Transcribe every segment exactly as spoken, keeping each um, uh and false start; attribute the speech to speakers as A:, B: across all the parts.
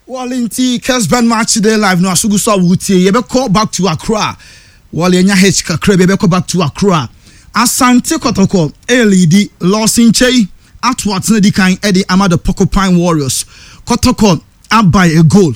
A: Wɔle, nti Kesben Match Day Live no asogu so a wotie, yɛbɛkɔ back to Accra. Wɔle, ɛnya h kakra bi, yɛbɛkɔ back to Accra. Asante Kɔtɔkɔ ɛlead, Lawson Kyei ato atena di kan ɛde ama the Porcupine Warriors. Kɔtɔkɔ abae a goal.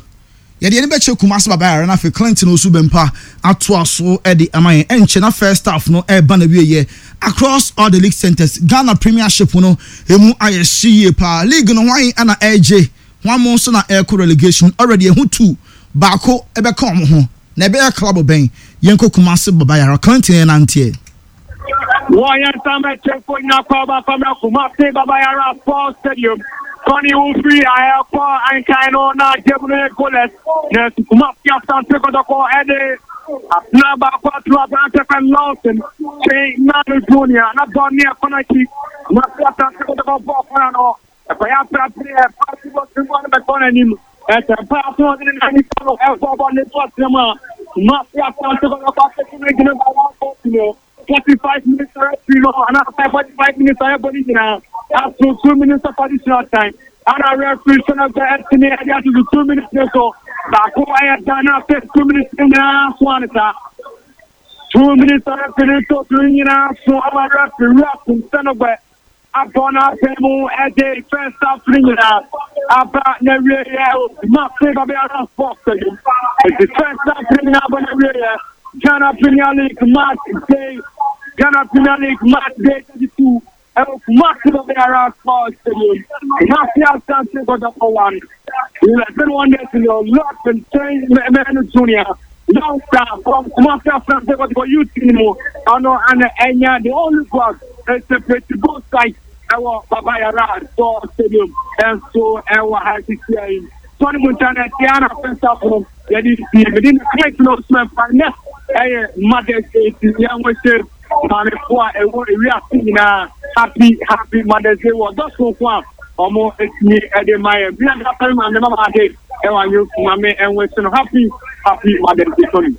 A: Yɛde yɛn bɛkyɛ Kumase Baba Yara na afei Clinton Osu Bɛmpa atoa so ɛde ama yɛn. Ɛnkyɛ na first half no ɛreba na wie yɛ. Across all the league centers, Ghana Premiership no emu ayɛ hye yie paa. League no, hwan ɛna ɛregye, hwan mo nso na ɛrekɔ relegation? Already ɛho two baako ɛbɛka wɔn ho na ɛbɛyɛ club bɛn? Yɛnkɔ Kumase Baba Yara, Clinton yɛn nanteɛ.
B: Wɔyɛ nsɛm nyina kɔ ɔba famra Kumase Baba Yara Sports Stadium. Tɔni wofiri ayɛkɔ ankan no na gye mu no yɛ goalless na Kumase Asante Kɔtɔkɔ ɛde atena baako ato aberante fɛn Lawson Kyɛn Nano Junior na bɔ ne ɛkɔ n'akyi. Kumase Asante Kɔtɔkɔ bɔ kɔna no ɛkɔyɛ aprapre ɛfa bɔ tiri no bɛtɔ n'anim ɛsɛ mpa aso ɔde ne nan nifa no ɛbɔ bɔ ne to atena mu a Kumase Asante Kɔtɔkɔ akɛse no gyina ba one four no. Forty five minutes referee no anaasɛ forty five minutes a ɛbɔ ne nyinaa aso two minutes of additional time ana referee sɛ na sɛ ɛtumi ɛde ato two minutes ne so baako ɛyɛ dan na afei two minutes ne nyinaa so ane saa two minutes referee ne to two nyinaa so ama referee wura sɛnɔgbɛ abɔ n'asɛm mu ɛde first half ne nyinaa aba na wie yɛ Kumase Baba Yara Sports Stadium. Ɛdi first half ne nyinaa aba na wie yɛ Ghana Premier League match day, Ghana Premier League match day thirty two ɛwɔ Kumase Baba Yara Sports Stadium. Kumase Asante Kɔtɔkɔ one, Eleven Wonders no Lawson Kyɛn Mɛnu Junior, youngster from Kumase Asante Kɔtɔkɔ youth team mu, ɔno ana ɛnya the only goal ɛseparate both sides ɛwɔ Baba Yara Sports Stadium. Ɛnso ɛwɔ ha sisi ayi tɔni mu nkyɛn ɛti ana first half no yɛde si mede ne client no sumɛ fa next ɛyɛ Mother's Day, ti yɛn ho hyɛ maamefo a ɛwɔ ewiase nyinaa happy happy Mother's Day wɔ dɔsonko a ɔmo etumi ɛde ma yɛ bi aka pɛrɛ maame mama ade ɛwɔ anyi maame ɛnwo so no happy happy Mother's Day, Tony.